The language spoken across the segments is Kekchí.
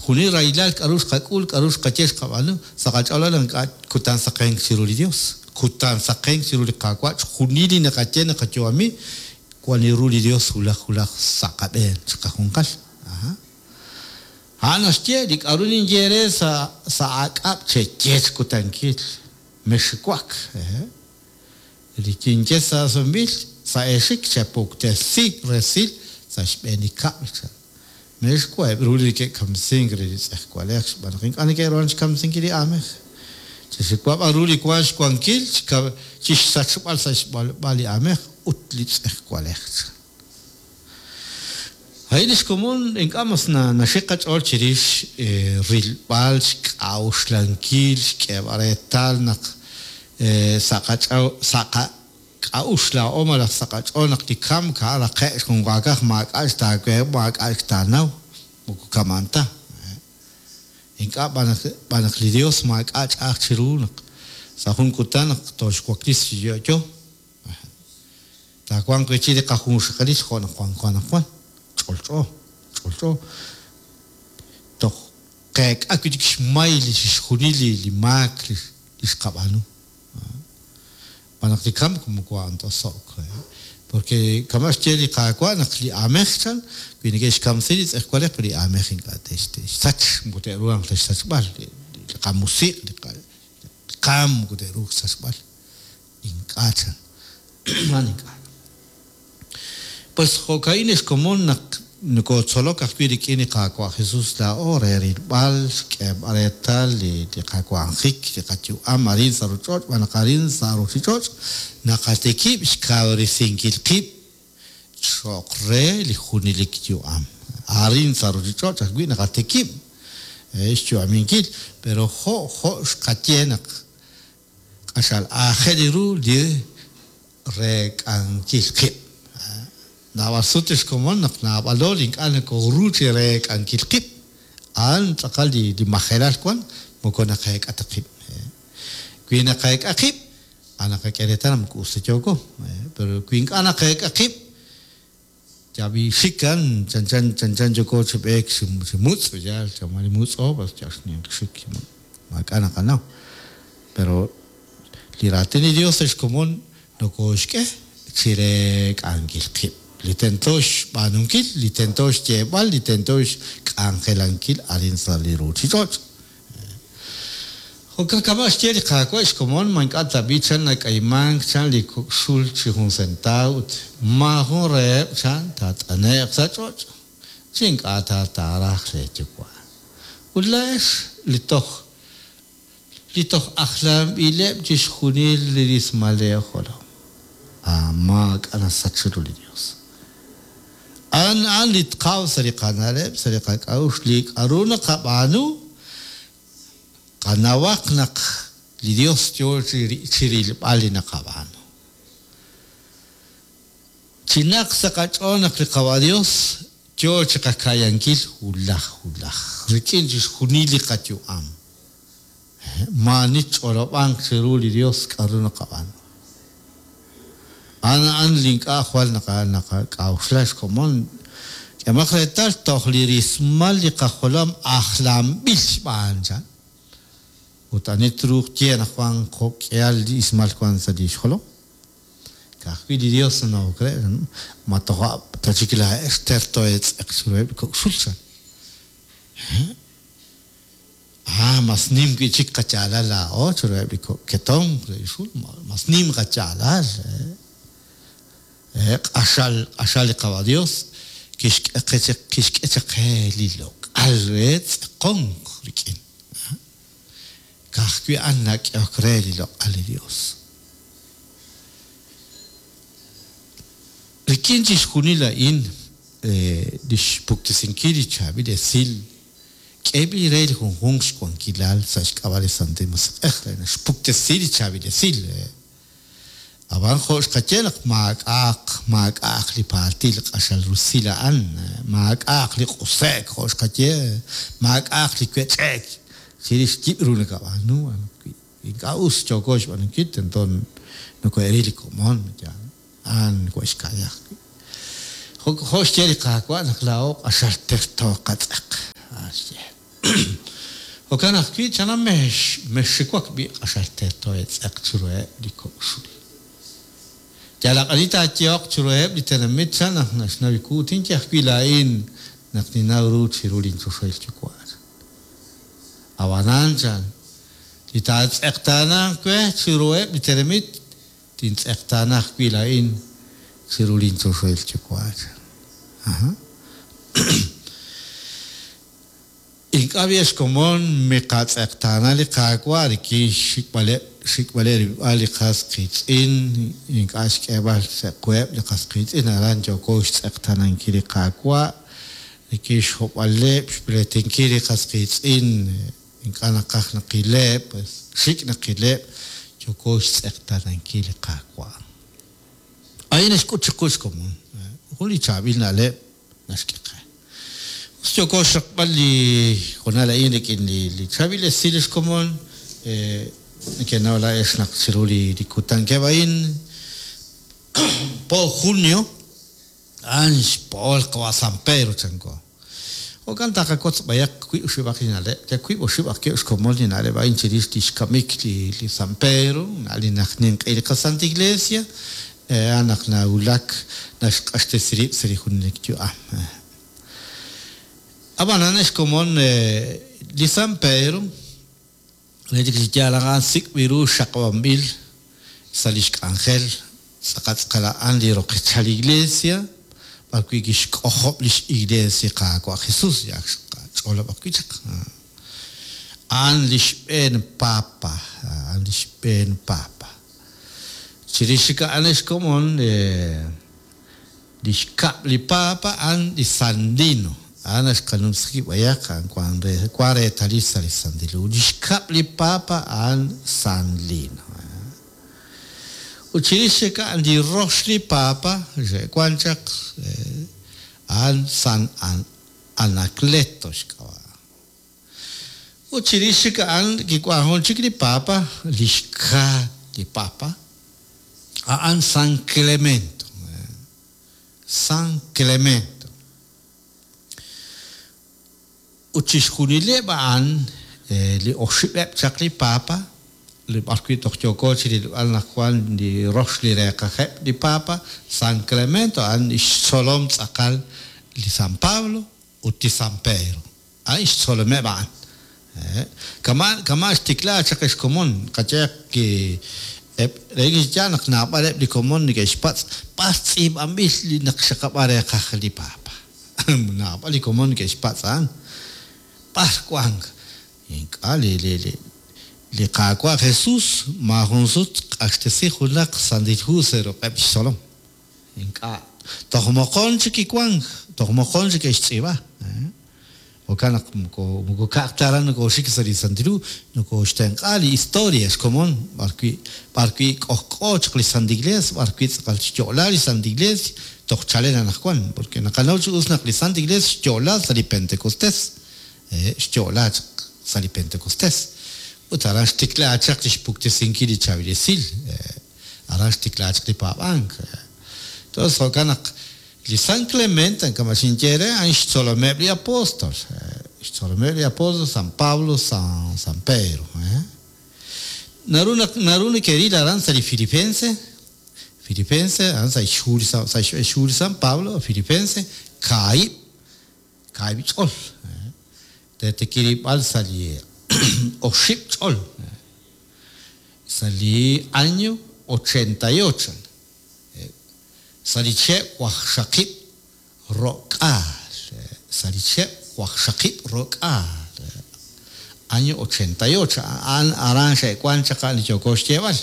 Chixjunil rahilal k'a'ru xqak'ul, k'a'ru xqaye xqab'aanu, sa' qach'ool naq ink'a' kutan saqenk chiru li Dios, kutan saqenk chiru li Qaawa', chixjunil li naqaye naqayu'ami, wan li ru li Dios wulaj wulaj sa' qab'een chiqajunqal. Aha. A'an naxye, li k'a'ru ninye eere sa' sa' aak'ab' cheye chi kutankil, mexxiwak. Ehe. Li kinye sa' sumb'il sa' eexik chepuktesi resil sa' xb'een li kab'l, chan. Me'xwa' eb' ru li neke'kamsink re li tz'ejwalej xb'aan naq ink'a' neke'ruhan xkamsinkil li aamej. Chexiwa b'an ru li wank xwankil chi xsachb'al sa' xb'alb'a li aamej ut li tz'ejwalej, chan. A'in li xkomon ink'a' mas naxik qach'ool chirix rilb'al, xk'a'uxlankil, xk'eeb'al reetal naq sa' qak'a'uxl laa'o malaj sa' qach'ool naq li kamk a'an raqe'k xjunwaakaj maak'a' xtaawe maak'a' xtaanaw, moko kama'an ta. Ink'a' b'an naq li Dios maak'a' ch'a'aj chiru naq sa' jun kutan naq tooxwaklisi chi yo'yo. Taawanq wi' chik li qajunxaqalil jo' naq wanko anaqwan. Ch'olch'o, ch'olch'o. Toj qeek'a wi' chik xmay li chixjunil li maak li xqab'aanu. Xb'aan naq li kamk moko a'an ta oso'k. Porque kama' xye li Qaawa' naq li aamej chan, wi neke'xkamsi li tz'ejwalej, pero li aamej ink'a' te'xsach, moko te'ruhanq ta xsachb'al. Li qamusiq', li qaam moko te'ruuq xsachb'al. Ink'a' chan. A'an ink'a'. Pues jo'ka'in ex komon naq nokotzolok ajwi' rik'in li Qaawa' Jesus laa'o re rilb'al, xk'eeb'al reetal li qawanjik, li qayu'am arin sa' ruuch'och' xb'aan naq arin sa' ruuchich'och' naqatikib' xkawresinkil qib' cho'q re li junelik yu'am. Arin sa' ruuchich'och' ajwi' naqatikib' xyu'aminkil, pero jo' jo' xqaye naq Q'axal aajel ru li reek'ankil qib'. Naab'al sut ex komon naq naab'alo li ink'a' nokoru chi reek'ankil qib', a'an tz'aqal li majelal wan, moko naqeek'a ta qib'. Wi naqeek'a qib', a naqak'e reetal naq moko us ta yooko. Pero wi ink'a' naqeek'a qib', Yab'i xik a'an chanchan chanchan yooko chi b'eek chi chi mutz' yaal chama li mutz'o pues yal xninq xik maak'a' naqanaw pero li raatin li Dios ex komon nokooxk'e chi reek'ankil qib' li tento xb'aanunkil li tento xyeeb'al li tento xk'anjelankil arin sa' li ruuchich'och'. Jo'kan kama' xye li Qaawa' xkomon, ma ink'a' tab'i' chan nak'aymank chan li kok' xul chi jun sentaaw ut maajun reheb' chan taat'ane'q sa' ch'och' chi ink'a' ta taaraj leeyuwa'. Ut laa'ex li toj li toj ajlanb'ileb' chixjunil li rismal leejolom, a maak'a' nasach chiru li Yos. A'an a'an li tqaw sa' li qana'leb', sa' li qak'a'uxl, li k'a'ru naqab'aanu, qanawaq naq li Dios yoo chi rilb'al li naqab'aanu. Chinaq sa' qach'ool naq li Qawa' Dios yoo chiqaka'yankil wulaj wulaj, rik'in chixjunil li qayu'am. Maa'ani tch'olob'anq chiru li Yos k'aru naqab'aanu. A'an a'an li ink'a' jwal naqak'a'uxla xkomon. K'ehomaq reetal toj li rismal li qajolom ajlanb'il xb'aan, chan. Ut ani truuq tye anaqwan jo' k'ihal li ismal wank sa' li xjolom? Ka'ajwi' li Yos nanawok re, ma toja' ta chik laa'ex terto eetz'eq chiruheb' li kok' xul, chan. Ah, mas nim wi'chik qayaalal laa'o chiruheb' li kok' ketomq re li xul, mas nim qayaalal. Q'axal, q'axal li Qawa' Dios kixk'e qe chaq, kixk'e chaq qe li loq'al re tz'aqonk rik'in. Ka'ajwi' a'an nak'ehok re li loq'al li Dios. Rik'in chixjunil a'in, lix puktesinkil li chaab'il esil K'eeb'il re li junjunq xwankilal sa' xk'ab'a' li Santil Musiq'ej re naxpuktesi li chaab'il esil. Ab'an jo' xqaye naq maak'a'aq maak'a'aq li paaltil q'axal rusil a'an, maak'a'aq li q'use'k jo' xqaye, maak'a'aq li wech'e'k chirix yib' ru nakab'aanu, wi ink'a' us yooko xb'aanunkil tento nokohe'ril li komon, yaal. A'an nokohe'xka'ya ajwi'. Jo' xye li Qaawa' naq laa'o q'axal terto qatz'aq. A'an xye. Jo'kan ajwi', chan mexxiwak b'i' q'axal terto eetz'eq chiruheb' li kok' xul. Yalaq ani taayehoq chiruheb' li tenamit chan naq naxnaw wu, tinye ajwi' laa'in naq ninnaw ru chiru linchoxahil Yuwa', chan. Ab'anan, chan, li taatz'eqtaananq we chiruheb' li tenamit, tintz'eqtaana ajwi' laa'in chiru linchoxahil Yuwa', chan. Aha. Ink'a' b'i' ex komon miqatz'eqtaana li Qaawa' rik'in xxik'b'aleb' xik'b'aleb' rilb'al li qas qiitz'in, ink'a' xk'eeb'al sa' quheb' li qas qiitz'in, aran yooko xtz'eqtaanankil li Qaawa' rik'in xhob'aleb', xpleetinkil li qas qiitz'in, ink'a' naqaj naqileb', pues xik' naqileb', yooko xtz'eqtaanankil li Qaawa'. A'in naxk'ut chiqu xkomon jun li chaab'il na'leb' naxk'e qe. Us yooko xraqb'al li hoonal a'in rik'in li chaab'il esil li xkomon. Nekenaw laa'ex naq chiru li kutankeb' a'in, po junio, a'an xpo'ol qawa' San Pedro chanko. Jo'kan taqawotz b'ayaq wiib' oxib'aq li na'leb', yal wiib' oxib' ajwi' xkomon li na'leb' a'in chirix lix kamik li San Pedro, li naq ninq'ehi li qaSanta Iglesia, A'an naq nawulak naxq'axtesi rib' sa' li junelik yu'am. Ab'anan, ex komon, li San Pedro, relik chi yaal a'an sik'b'il ru xaqab'anb'il sa' lix k'anjel tz'aqal tz'aqal a'an li roqechal li Iglesia, b'ar wi' kixk'ojob' lix Iglees li Qaawa' Jesus, li ak xqach'olob' ajwi' chaq. A'an li xb'een Papa, a'an li xb'een Papa. Chirix chik a'an ex komon, li xkab' li Papa a'an li San Lino. A'an naxqanumsi qib' b'ayaq, a'an wan re, wan reetalil sa' li Santil Hu. Li xkab' li Papa a'an San Lino. Ut chirix chik a'an li rox li Papa xe'wan chaq, a'an San Anacleto xk'ab'a'. Ut chirix chik a'an kiwank jun chik li Papa, li xka li Papa, a'an San Clemento. San Clemento. Ut chixjunileb' a'an, li oxib'eb' chaq li Papa, li b'arwi' toj yooko chi rilb'al naq wank li rox li reeqajeb' li Papa, San Clemento a'an li xtzolom tz'aqal li San Pablo ut li San Pedro. A'in xtzolomeb' a'an. Kama' kama' xtikla chaq ex komon, qayehaq ki eb' relik chi yaal naq naab'aleb' li komon neke'xpatz' b'ar tz'iib'anb'il li naq xaqab'a reeqaj li Papa. Naab'al li komon neke'xpatz' a'an. B'ar wank? Ink'a' li li li li Qaawa' Jesus maajun sut q'axtesi junaq Santil Hu sa' ruq'eb' xtzolom. Ink'a'. Toj moqon chik kiwank, toj moqon chik ke'xtz'iib'a. Jo'kan naq moko moko ka'aj ta aran nokooxik sa' li Santil Hu, nokooxtenq'a li historia xkomon b'arwi' b'arwi' k'ojk'o chaq li Santa Iglesia, b'arwi' tz'aqal xyo'la li Santa Iglesia toj chalen anaqwan, porque naqanaw chi us naq li Santa Iglesia xyo'la sa' li Pentecostés, xyo'la chaq sa' li Pentecostés. Ut aran xtikla chaq li xpuktesinkil li chaab'il esil. Aran xtikla chaq li paab'ank. Entonces jo'kan naq li San Clemente, kama' xinye eere, a'an xtzolomeb' li apóstol. Xtzolomeb' li apóstol San Pablo, San, San Pedro. Naru naq naru neke'ril aran sa' li Filipense, Filipense, a'an sa' xhu li sa' xhu li San Pablo, Filipense, kaahib', kaahib' ch'ol. Re tikirib'al sa' li oxib' ch'ol. Sa' li año 88, sa' li chihab' waqxaqib' ro'k'aal, sa' li chihab' waqxaqib' ro'k'aal, año 88, a'an aran xe'wank chaq a'an li yooko xyeeb'al.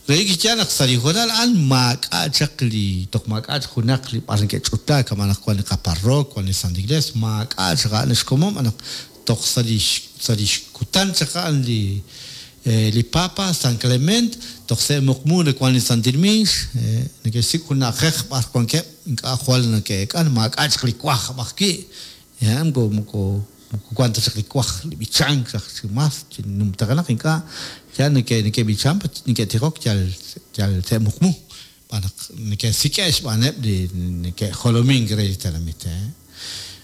Relik chi yaal naq sa' li hoonal a'an maak'a' chaq li, toj maak'a' chaq junaq li b'ar neke'ch'utlaak, kama' naq wank li qaparrook, wank li Santa Iglesia, maak'a' chaq a'an xkomon b'an naq toj sa' li sa' li xkutan chaq a'an li li Papa San Clement, toj sa' muqmu nawank li Santil Miix, neke'xsik' jun na'ajej b'ar wankeb' ink'a' jwal neke'eek'an, maak'a' chaq li wajb' ajwi', moko moko Moko wank ta chaq li waj li b'ichank raj chi mas chi numtajenaq ink'a' yal neke'b'ichank neke'tijok yal yal te'muqmu xb'aan naq neke'sik'e'k xb'aaneb' li neke'jolomink re li tenamit.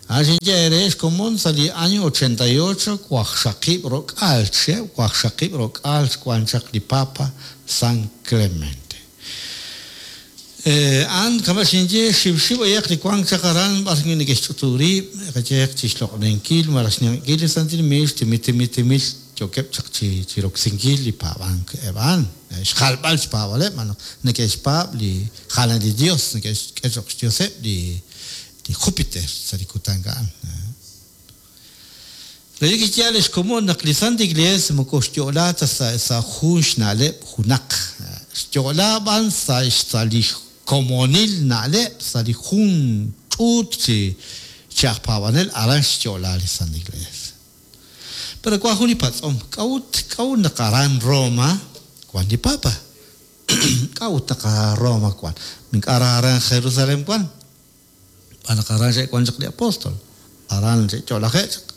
A'an xinye eere xkomon sa' li año 88 waqxaqib' ro'k'aal chihab', waqxaqib' ro'k'aal xwan chaq li Papa San Clemente. A'an kama' xinye xiwxiw b'ayaq li wank chaq aran b'ar wi' neke'xch'utub' rib', qayehaq chi xloq'oninkil malaj xninq'ehinkil li Santil Miix, timil timil timil yookeb' chaq chi chi roksinkil li paab'ank eb' a'an, xjalb'al xpaab'aleb' malaj neke'xpaab' li jalan li Dios, neke'xk'e cho'q xdioseb' li li Júpiter sa' li kutan a'an. Relik chi yaal ex komon naq li Santa Iglees moko xyo'la ta sa' jun xna'leb' junaq, xyo'la b'an sa' sa' li komonil na'leb' sa' li jun ch'uut chi chi aj paab'anel aran xyo'la li Santa Iglees. Pero wan jun li patz'om, k'a'ut k'a'ut naq aran Roma wan li Papa? K'a'ut naq aran Roma wan? Ink'a' aran Jerusalén wan. Xb'aan naq aran xe'wank chaq li apóstol, aran xe'yo'laje'k chaq.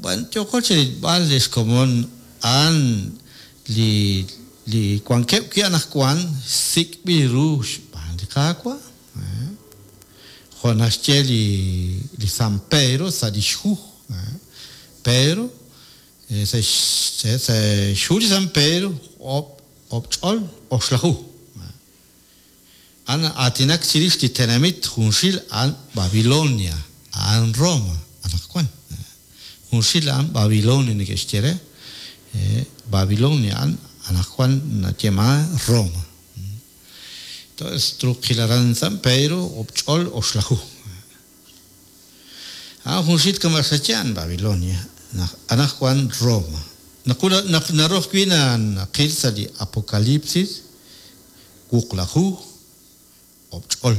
B'an yooko chi rilb'al li xkomon a'an li li wankeb' wi' anaqwan sik'b'il ru xb'aan li Qaawa'. Jo' naxye li li San Pedro sa' li xhu. Pedro sa' xhu li San Pedro oob' ch'ol oxlaju. A'an na'aatinak chirix li tenamit junxil a'an Babilonia, a'an Roma anaqwan. Junxil a'an Babilonia neke'xye re, Babilonia a'an anaqwan nayeeman Roma. Entonces truuq qil aran San Pedro ob'ch'ol oxlaju. A'an junxil kama' xaye a'an Babilonia, anaqwan Roma. Naq naru ajwi' naqil sa' li Apocalipsis wuqlaju oob' ch'ol,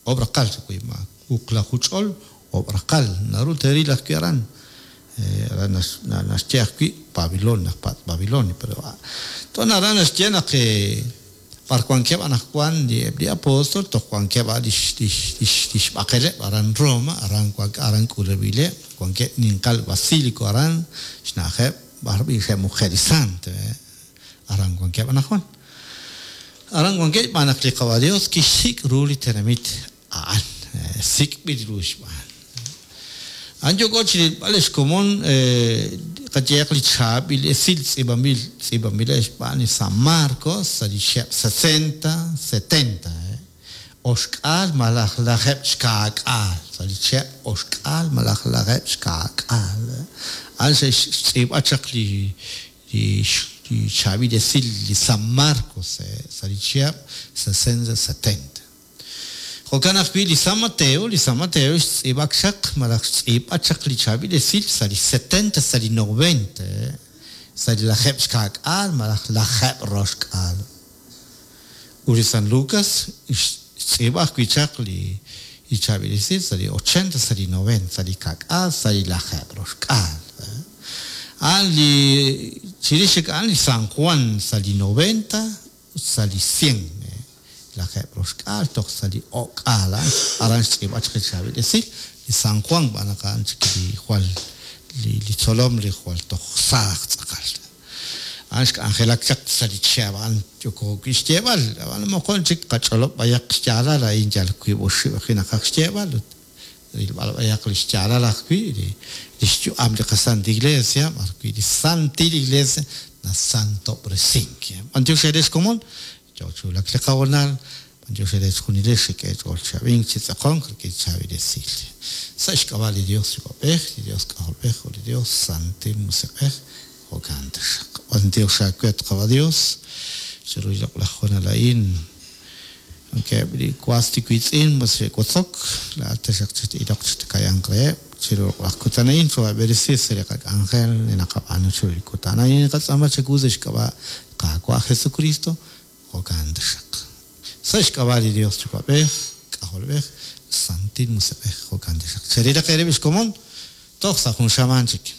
oob' raqal wi ma wuqlaju ch'ol oob' raqal naru teeril ajwi' aran. Aran naxye ajwi' Babilonia, naq Babilonia, pero ton aran naxye naq b'ar wankeb' anaqwan li eb' li apóstol toj wankeb' a' lix lix lix lix b'aqeleb' aran Roma, aran wank aran k'ulub'ileb', wankeb' ninqal basílico aran xna'ajeb' b'ar b'i' xe'muqe' li sant. Aran wankeb' anaqwan. Aran wankeb' xb'aan naq li Qawa' Dios kixsik' ru li tenamit a'an, sik'b'il ru xb'aan. A'an yooko chi rilb'al li xkomon qayehaq li chaab'il esil tz'iib'anb'il tz'iib'anb'ileb' xb'aan li San Marcos sa' li chihab' sesenta, setenta, oxk'aal malaj lajeeb' xkaak'aal, sa' li chihab' oxk'aal malaj lajeeb' xkaak'aal. A'an xe'xtz'iib'a chaq li Li chaab'il esil li San Marcos sa' li chihab' sesenta setenta. Jo'kan ajwi' li San Mateo, li San Mateo xtz'iib'ak chaq malaj xtz'iib'a chaq li chaab'il esil sa' li setenta sa' li noventa, sa' li lajeeb' xkaak'aal malaj lajeeb' roxk'aal. Ut li San Lucas xtz'iib'a ajwi' chaq li chaab'il esil sa' li ochenta sa' li noventa, sa' li ka'k'aal sa' li lajeeb' roxk'aal. A'an li chirix chik a'an li San Juan sa' li noventa ut sa' li cien, lajeeb' roxk'aal toj sa' li o'k'aal a'an aran xtz'iib'a chaq li chaab'il esil li San Juan xb'aan naq a'an chik li jwal li tzolom li jwal toj saaj tz'aqal. A'an xk'anjelak chaq sa' li chihab' a'an yooko wi' xyeeb'al, ab'an moqon chik qach'olob' b'ayaq xyaalal a'in yal wiib' oxib' ajwi' naqaj xyeeb'al ut rilb'al b'ayaq li xyaalal ajwi' li xyu'am li qaSanta Iglesia b'ar wi' li Santil Iglesia nasantob'resink. B'antiox eere xkomon, yoo chi wulak li qahoonal, b'antiox eere chejunilex xek'e eech'ool chi ab'ink chi tz'aqonk rik'in chaab'il esil. Sa' xk'ab'a' li Dios Yuwa'b'ej, li Dios K'ajolb'ej ut li Dios Santil Musiq'ej, jo'kan taxaq. B'antiox aawe at Qawa' Dios, chiru li loq'laj hoonal a'in. Wankeb' li was li wiitz'in mos xe'wotzok, laa'at taxaq chat-iloq chi takayanq reheb' chiru loq'laj kutan a'in, choohaab'eresi sa' li qak'anjel li naqab'aanu chiru li kutan a'in. Naqatz'aama chawu sa' xk'ab'a' li Qaawa' Jesukristo, jo'kan taxaq. Sa' xk'ab'a' li Dios Yuwa'b'ej, K'ajolb'ej, Santil Musiq'ej, jo'kan taxaq. Cherilaq eerib' xkomon toj sa' jun xamaan chik.